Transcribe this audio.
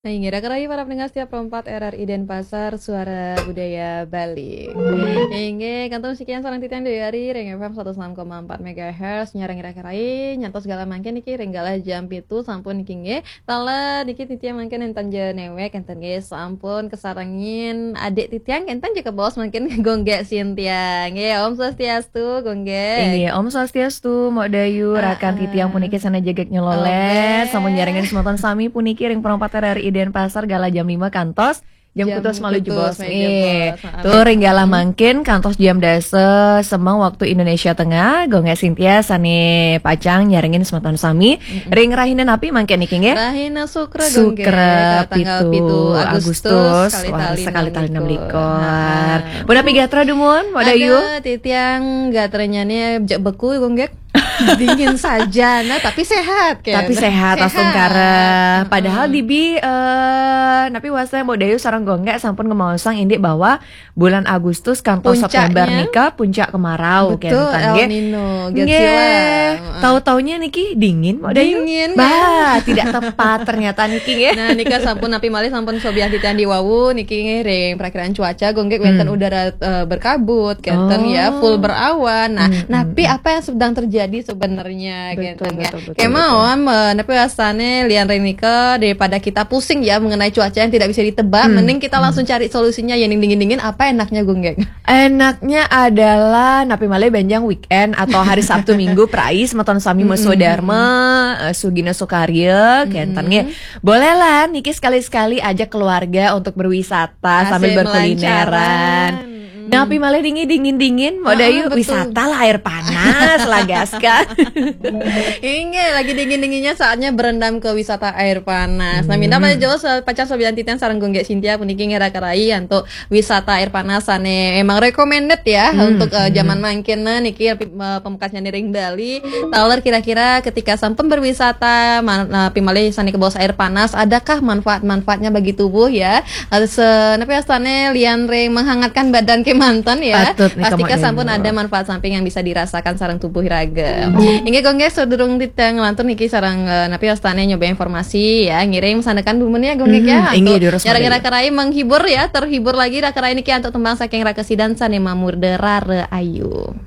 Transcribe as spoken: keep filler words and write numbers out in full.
Inggih, raka rai para pendengar setia Pro empat R R I Denpasar, Suara Budaya Bali. Inggih, kantun sekian sareng titiang Dewi Ari, ring F M seratus enam koma empat megahertz, nyarengin raka rai, nyantos galah mangkin niki, ring galah jam pitu, sampun niki nggih. Taler niki titiang mangkin enten ja newek, enten nggih, sampun kasarengin adik titiang, enten ja kabaos mangkin Gung Gék Sintia. Nggih, Om Swastiastu, Gung Gék. Inggih, Om Swastiastu, Mbok Dayu, rakan titiang puniki sané jegég nyelolét, sampun nyarengin semeton sami puniki ring Pro empat R R I Denpasar galah jam lima kantos jam kutus malu jebos. Nggih. Tuh ring galah mangkin kantos jam dasa semeng waktu Indonesia Tengah, Gung Gék Sintia sané pacang nyarengin semeton sami ring rahina napi mangkin niki nggih? Rahina Sukra, Sukra, pitu Agustus, wah, sekali tali enam likur. Punapi gatra dumun, Mbok Dayu? Aduh, titiang gatranya nih jek beku, Gung Gék. Dingin saja, nah, tapi sehat kan? Tapi sehat, astungkara. Padahal dibi eh napi wasta Mbok Dayu sareng Gung Gék sampun ngemaosang indik bahwa bulan Agustus kantos September nika puncak kemarau. Betul, El Nino, Godzilla. Tahu-taunya niki dingin, Mbok Dayu. Dingin, bah, tidak tepat ternyata niki nggih. Nah, nika sampun napi malih sampun sobiah titiang diwawu niki nggih ring perakiraan cuaca, Gung Gék, wénten udara eh, berkabut, kenten ya, full berawan. Nah, napi apa yang sedang terjadi sebenarnya, kenten ya. Kemauan, eh, napi wastané lian ring nika, daripada kita pusing ya mengenai cuaca yang tidak bisa ditebak, mending kita langsung cari solusinya ya, ning dingin-dingin, apa enaknya, Gung Gék? Enaknya adalah napi malih benjang weekend atau hari Sabtu Minggu, perai semeton sami meswa dharma, eh, sugina sukarya, kenten nggih. Bolehlah niki sekali-sekali ajak keluarga untuk berwisata sambil berkulineran. Napi malih dingin, dingin, dingin, Mbok Dayu, wisata lah air panas lah, gas kan. Inggih, lagi dingin-dinginnya saatnya berendam ke wisata air panas. Nah, minta malih jauh pacang sobian titiang sareng Gung Gék Sintia puniki nggih raka rai antuk wisata air panas sané emang recommended ya untuk eh, zaman mangkin, nah, niki eh, pamekasnyané ring Bali. Taler kira-kira ketika sampun berwisata, man- napi malih sané kabaos air panas, adakah manfaat-manfaatnya bagi tubuh ya? Atau se napi wastané lian ring menghangatkan badan kemanten ya. Patut nih, Pastika Mbok sampun Dayu. Ada manfaat samping yang bisa dirasakan sareng tubuh raga. Inggih, Gung Gék, sadurung titiang nglantur niki sareng eh, napi wastané nyoba informasi ya. Ngiring masandekan dumun ya, Gung Gék ya. Inggih, durus, Mbok Dayu. Nyarengin raka rai menghibur ya, terhibur lagi raka rai niki antuk tembang saking Raka Sidan sané mamurda Rara Ayu.